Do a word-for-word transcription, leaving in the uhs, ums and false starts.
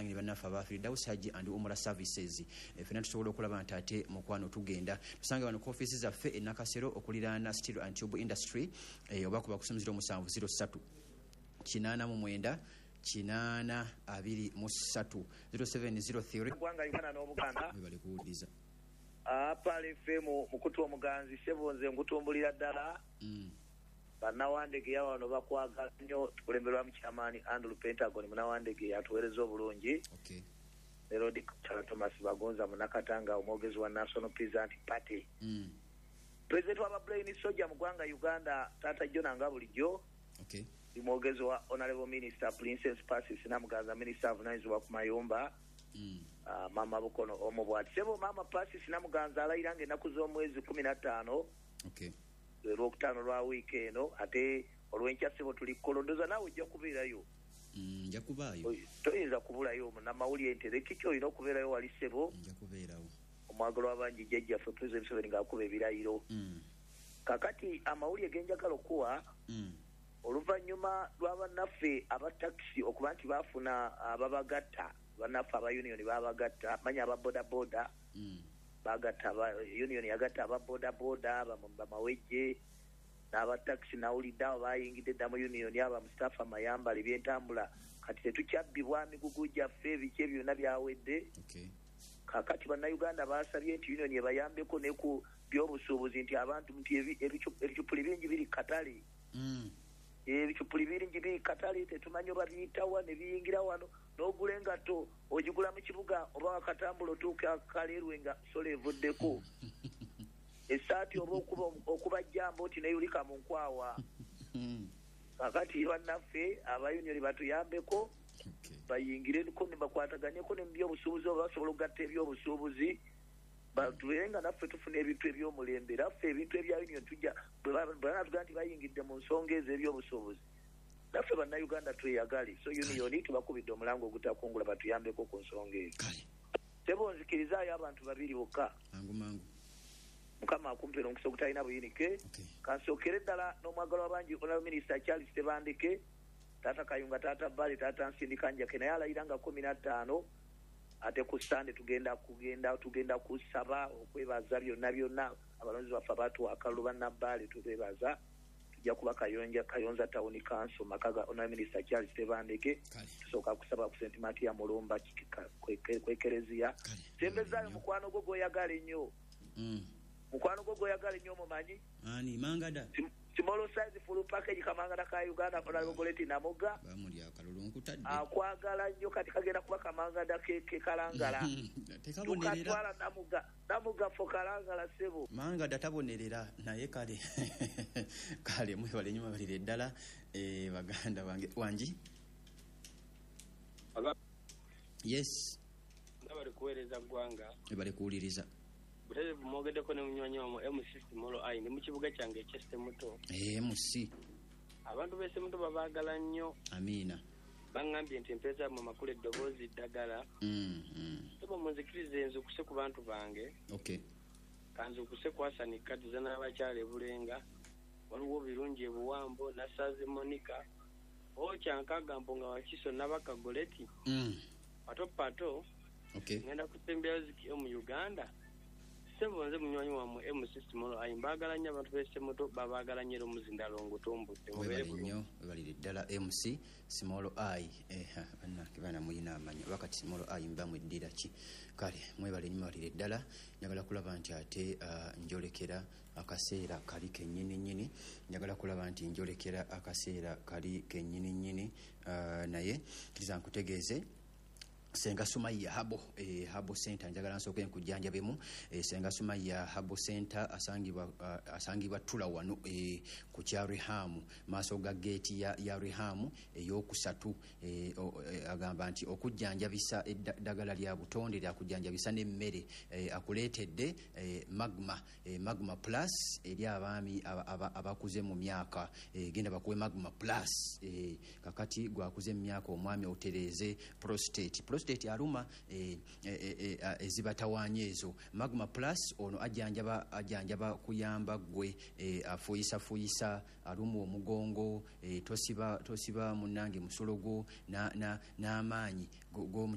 Bannange ne bannaffe aba Firdaus Hajji and Umra Services, e, fena tusobola okulaba nti ate mukwano tugenda tusange wano ku ofiisi zaffe e Nakasero okuliraana Steel and Tube Industry, e, oba kuba kusimu zero musanvu zero ssatu kinaana mu mwenda kinaana abiri mu ssatu, zero seven zero three. Ggwanga Uganda n'Obuganda. Webale kuwuliriza. Apala F M, mukutu omuganzi, sebo nze nkutumbulira ddala. Mm. Bannawandegeya wano bakwagala nnyo. Tukulemberwamu kyamaani Andrew Pentagon Munawandegeya, atuweereza obulungi. Okay ne Lord Thomas Bagonza Munakatanga, omwogezi wa National Peasant Party, mm. pulezidenti w'aba Brain Soja mu ggwanga Uganda, taata Jona nga bulijjo. Okay ndi mwogezi wa Honorable Minister Princess Pasis Namuganza, minisita avunanyizibwa ku mayumba. mm. Ah, mama Bukono omu bwati, sebo maama Pasis Namuganza alayira nga ennaku z'omwezi kumi na ttaano, okay lwe Lwokutaano lwa wiiki eno, ate olwenkya sebo tuli kolondoza, naawe ojja kubeerayo. Mm, nja kubaayo. Oy- toyinza kubulayo, munnamawulire ntereki olina okubeerayo wali sebo. Nja kubeerawo. Omwagalo w'abangi, jjajjaffe President Museveni ng'akuba ebirayiro. mm. Kakati amawulire genjagala okuwa, Mm. oluvannyuma lw'abannaffe aba takisi okuba nti baafuna ababagatta, bannaffe aba union babagatta, manya aba bodaboda, Mm. bagatta aba union, yagatta aba bodaboda, bamawejje n'abatakisi. Nawulidde abo bayingidde dda mu union, aba Mustapha Mayambala, ebyentambula kati tetukyabbibwa, migugu gyaffe, ebiki ebyo byonna byawedde. Okay Kakati Bannayuganda basabye nti union ebayambeko ne ku byobusuubuzi, nti abantu nti ebi- ebicu- ebicupuli bingi biri katale. mm. Ebicupuli bingi biri katale, tetumanyi oba biyitawa ne biyingira wano, n'ogula engatto ogigula mu kibuga oba wakatambula otuuka Kaleerwe nga solo evuddeko, essaati oba okuba okuba jjambo nti neyulika mu nkwawa. Mm. Kakati bannaffe aba union batuyambeko, Okay bayingireko ne bakwataganyeko ne mu byobusuubuzi, oba basobola okugatta ebyobusuubuzi, batubeere nga naffe tufuna ebintu ebyomulembe. Naffe ebintu ebya union tujja bwe banatugaa nti bayingidde mu nsonga ezo ebyobusuubuzi, naffe Bannayuganda tweyagale. So union tubakubidde omulango ogutakungula, batuyambeko ku nsonga ezo. Kale. Sebo, nzikirizaayo abantu babiri bokka. Mangu mangu. Mukama akumpera omukisa ogutalina buyinike. Okay kansookere ddala n'omwagalo w'abangi, Honorable Minister Charles Tebandeke, taata Kayunga, taata Bali, taata Nsindika Njake, naye alayira nga kumi na ttaano, ate ku Sande tugenda kugenda tugenda kusaba okwebaza byonna byonna abalonzi baffe abatuwa akalulu. Bannabbaale tubebaza. Tujja kuba Kayonja, Kayonza Town Council, maka ga Honorable Minister Charles Tebandeke. Kale. Tusooka kusaba ku Saint Matia Mulumba kwekereziya. Kale. Sembezaayo mukwano gwo gw'oyagala ennyo. mm. Mukwano gwo gw'oyagala ennyo omumanyi. Ani? Mangada? Sim- small size full package, Kamangada ka Uganda, Honorable Goleti Namuga. Bamulya akalulu, nkutadde. Akwagala nnyo. Kati kagenda kuba Kamangada ke ke Kalangala. Tekabonerera. Tukatwala Namuga, Namuga fo Kalangala, sebo. Mangada tabonerera, naye kale kale mwebale nnyo, mwebalire ddala, eh, baganda bange. Wangi? Aba- Yes. Nga bali kuweereza ggwanga. Ebale kuwuliriza. Butereevu mwogeddeko ne munywanyi wamwe M C Small I, ndi mu kibuga kyange eky'Essemuto. M C. Abantu b'Essemuto babaagala nnyo. Amiina. Baŋŋambye nti empeeza yammwe makulu, eddoboozi ddagala. mm, mm. Sebo, munzikirize nzukuse ku bantu bange. Okay kanzukuse ku Hasani Kadiza n'abakyala ebulenga, waliwo Birungi ebuwambo, Nasaze Monica okyankagambo nga Wakiso Nabaka Goleti, mm. pato pato. Okay ngenda kusembyayo Ziki mu Uganda. Sebo, nze munywanyi wammwe M C Small I, mbaagala nnyo. Abantu b'Essemuto babaagala nnyo, era omuzindalo ngutumbudde, mubeere Webale bulungi. nnyo, webalire ddala M C Small I. eh, bannange baana muyina amanya wakati Small I mba mweddira ki? Kale mwebale nnyo, mwebalire ddala. Njagala kulaba nti ate uh, njolekera akaseera kali kennyini nnyini, njagala kulaba nti njolekera akaseera kali kennyini nnyini, uh, naye kiriza nkutegeeze Senga Sumaya Herbal, eh, Herbal Center. Njagala nsooke nkujjanjabemu. eh, Senga Sumaya Herbal Center asangibwa uh, asangibwa Tula wano, eh, ku kya Rihamu, maaso ga geeti ya, ya Rihamu eyokusatu. eh, o- eh, agamba nti okujjanjabisa eddagala lya butonde lyakujjanjabisa n'emmere. eh, akuleetedde eh, magma eh, magma Plus eri abaami aba- aba- abakuze mu myaka. eh, genda bakuwe Magma Plus. eh, kakati gwakuze mu myaka, omwami, otereeze prostate. Prostate aluma, eh, eh, eh, eh, ezibatawaanya ezo, Magma Plus ono ajjanjaba ajjanjaba kuyamba gwe eh, afuyisafuuyisa, aluma omugongo, eh, tosiba tosiba munnange musulo gwo n'amaanyi g'omu.